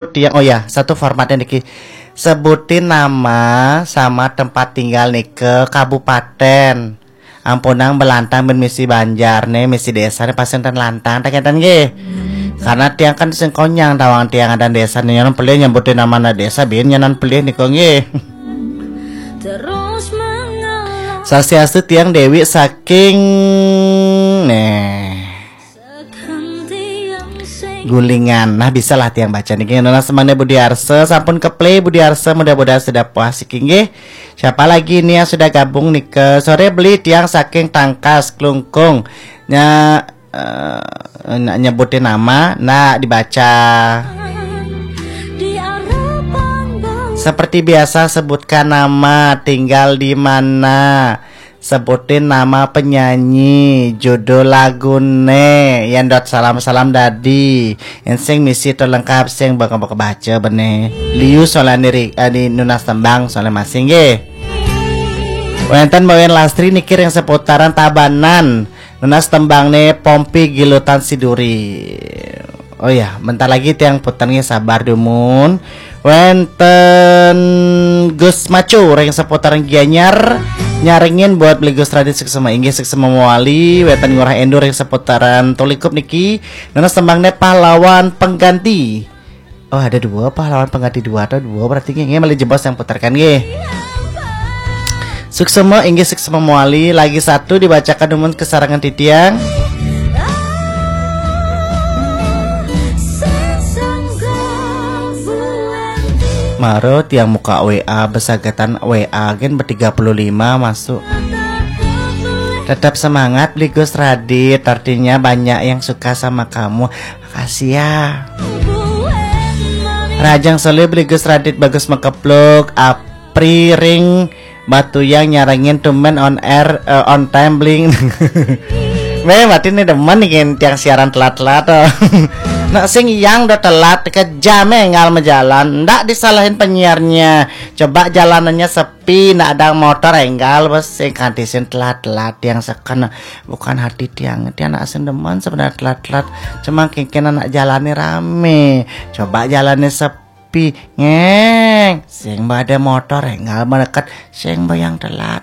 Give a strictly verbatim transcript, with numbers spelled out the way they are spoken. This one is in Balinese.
Tiang, oh ya, satu formatnya niki. Sebutin nama sama tempat tinggal nike, kabupaten. Ampunang belantang bin misi Banjar nih, misi desa nih, pasti enten lantang, tak enten nggih. Karena tiang kan sing konyang tawang tiang ada desa nih, nyanan pelih nyebutin nama anak desa bin nyanan pelih nika nggih. Terus mengalah. Swastiastu, tiang Dewi saking nih Gulingan. Nah, bisa lah tiang baca niki. Nunas tembangnya Budi Arsa, sampun ke play Budi Arsa, mudah-mudahan sudah puas iki nggih. Siapa lagi ini yang sudah gabung nih ke sore beli, tiang saking Tangkas Klungkung. Nya eh, nak nyebutin nama, nak dibaca. Seperti biasa, sebutkan nama, tinggal di mana. Sebutin nama penyanyi, judul lagune, yang dot salam-salam dadi. Yang sing misi to lengkap, sing bakal bakal baca bene. Liu soalnya ri- eh, di nunas tembang soalnya masing nggih. Wenten Mbak Wen Lastri niki ring seputaran Tabanan. Nunas tembang nih Pompi Gilutan Siduri. Oh ya, bentar lagi tiang putarnya, sabar dumun. Wenten Gus Macu ring seputaran Gianyar, nyarengin buat beli Gus Radit suksma, inggih suksma mawali. Wenten Ngurah Endur ring seputaran Tulikup niki. Nunas tembang nih Pahlawan Pengganti. Oh, ada dua pahlawan pengganti, dua atau dua, berarti nggih, nggih, malih jebos yang putarkan nggih. Suksma, inggih suksma mawali, lagi satu dibacakan dumun kesarengan titiang. Maro tiang muka W A, besagatan W A gen bertiga puluh lima masuk. Tetap semangat, Beli Gus Radit, artinya banyak yang suka sama kamu. Makasih ya. Rajang Solih, Beli Gus Radit bagus mengkepluk. Apri ring Batu yang nyarengin tumben on air, eh, on time bling. Meh, berarti nih demen nih tiang siaran telat-telat, oh. Nak sing yang udah telat, kejam, eh, ngal mejalan. Ndak disalahin penyiarnya. Coba jalanannya sepi, ndak ada motor, enggal bos, sing kanti sing telat-telat yang seken. Bukan hati tiang, tiang nak sing demen sebenarnya telat-telat. Cuma kengken anak jalannya rame. Coba jalannya sepi, ngeng. Sing ada motor, enggal mendekat. Sing bayang telat,